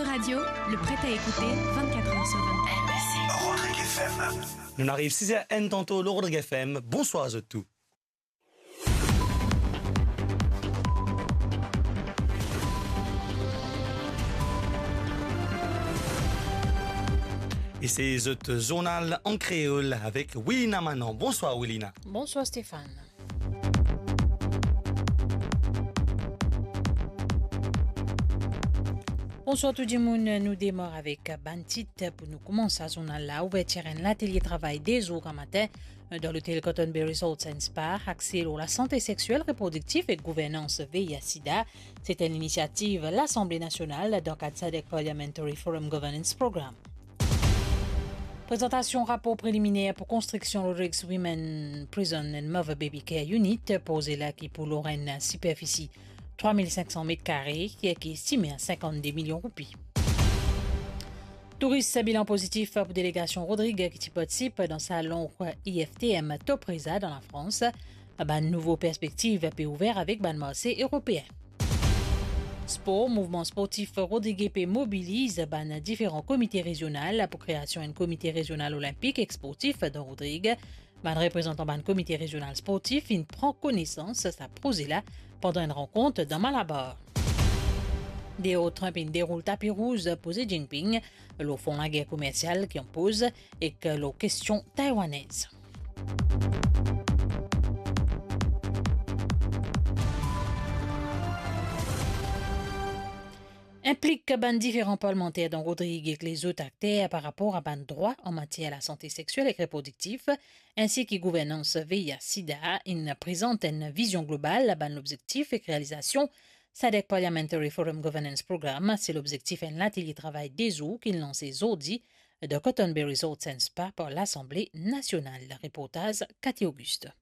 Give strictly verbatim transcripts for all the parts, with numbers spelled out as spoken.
Radio, le prêt à écouter vingt-quatre heures sur vingt-quatre. Rodrigues F M. Nou ariv sis er enn tanto lor Rodrigues F M. Bonswar zot tou. E se zot zournal an kreol avek Wilina Manon. Bonswar Wilina. Bonswar Stéphane. Bonswar tou dimoun, nou demar avek bann tit pou nou koumans sa zournal la. Ouvertir enn latelie travay de zour gramatin dan lotel Cotton Bay Resort and Spa, axe lor lasante sexuel reprodiktif ek gouvernans V I H sida. Se enn linisiativ Lasanble Nasional dan kad SADC Parliamentary Forum Governance Program. Prezantasion rapor preliminer pou konstriksion Rodrigues Women Prison and Mother Baby Care Unit, proze la ki pou lor enn siperfisi trwa mil sink san met kare, ki, ki estime a sinkant-de milion roupi. Touris, bilan pozitif pou delegasion Rodrig ki ti partisip dan salon I F T M Top Reza dan Lafrans. Bann nouvo perspektiv pe ouver avek bann marse eropeen. Spor, mouvman sportif Rodrig pe mobiliz bann diferan komite rezional pou kreasion enn komite rezional olinpik ek sportif dan Rodrig. Bann reprezantan bann komite rezional sportif inn pran konesans sa proze la pandan enn rankont dan Malabar. Donald Trump inn deroul tapi rouz pou Xi Jinping lor fon lager komersial ki anpoz ek lor kestion taiwanez. Inplik bann diferan parlmanter dan Rodrig ek lezot akter par rapor a bann drwa an matier lasante sexiel ek reprodiktif, ensi ki gouvernans V I H sida, inn prezant enn vizion global a bann lobzektif ek realizasion SADC Parliamentary Forum Governance Program. Se lobzektif enn latelie travay de zour ki lanse zordi dan Cotton Bay Resort and Spa par Lasanble Nasional. Reportaz Cathy Auguste.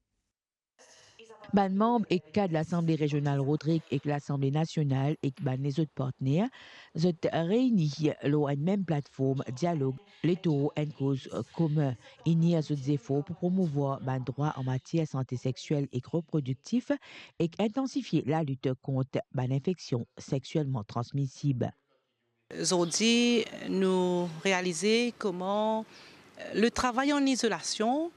Bann manm ek kad Lasanble Rezional Rodrig ek Lasanble Nasional ek bann lezot partner, zot reini lor enn mem platform dialog, letour enn koz komin, ini zot zefor pou promouvwar bann drwa an matier sante sexiel ek reprodiktif ek intansifie lalit kont bann infeksion sexielman transmisib. Zordi, nou realize koman, eh, le travay an izolasion,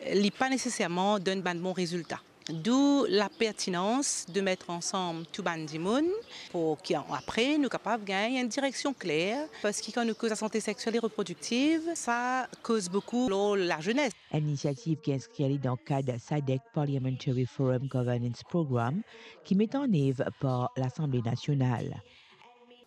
eh, li pa neseserman donn bann bon rezilta. D'où la pertinence de mettre ensemble tou bann dimoun pou ki apre nou kapav gagn enn direksion kler, parski kan nou koz lasante sexiel e reprodiktif, sa koz boukou lor lazenes. Enn inisiativ ki inskrir li dan kad SADC Parliamentary Forum Governance Program ki met an nev par Lasanble Nasional.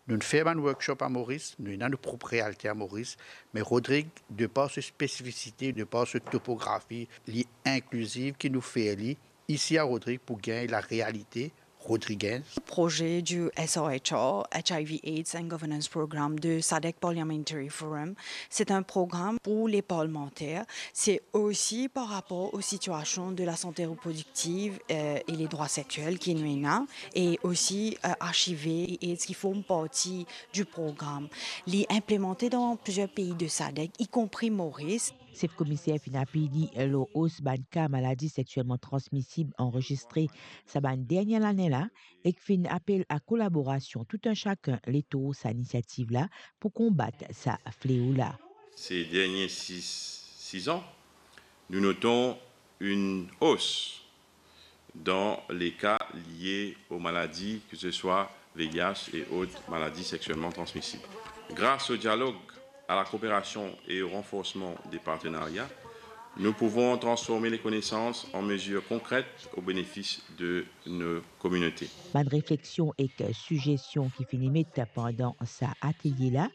Nou'nn fer bann workshop a Moris, nou ena nou prop realite a Moris, me Rodrig, de par so spesifisite, de par so topografi, li inkliziv ki nou fer li isi a Rodrig pou gagn larealite rodrigez. Projet du S R H R, H I V AIDS and Governance Program de SADC Parliamentary Forum, c'est un programme pour les parlementaires. C'est aussi par rapport aux situations de la santé reproductive, euh, et les droits sexuels ki nou ena, et aussi, euh, H I V et AIDS qui forment partie du programme. Li inplemente dan plizier pei de SADC, y compris Maurice. Sef Komiser finn apel li lor os bann ka maladi sexielman transmisib anrezistre sa bann dernie lane la, ek finn apel a kolaborasion tou enn sakenn letour sa inisiativ la pou konbat sa fleo la. Ces derniers six, six ans, nous notons une hausse dans les cas liés aux maladies, que ce soit V I H et autres maladies sexuellement transmissibles. Grâce au dialogue, à la coopération et au renforcement des partenariats, nous pouvons transformer les connaissances en mesures concrètes au bénéfice de nos communautés. Bann refleksion ek sizesion ki finn met pandan sa atelie la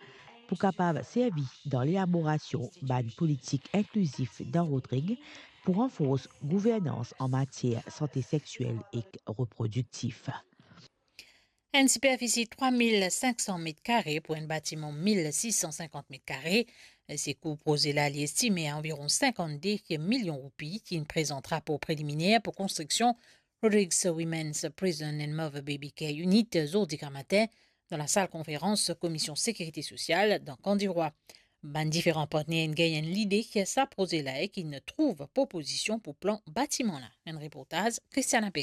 pou kapav servi dan lelaborasion bann politik inklizif dan Rodrig pou ranfors gouvernans an matier sante sexiel ek reprodiktif. Enn siperfisi trwa mil sink san met kare pou enn batiman mil sis san sinkant met kare. Se kou proze la, li estime a anviron sinkant-de milion roupi, ki inn prezant rapor preliminer pou konstriksion Rodrigues Women's Prison and Mother Baby Care Unit zordi gramatin dan lasal konferans Komisyon Sekirite Sosyal dan Kan Dirwa. Bann diferan partner inn gagn enn lide ki sa proze la ek inn trouv propozision pou plan batiman la. Enn reportaz Christiana Perry.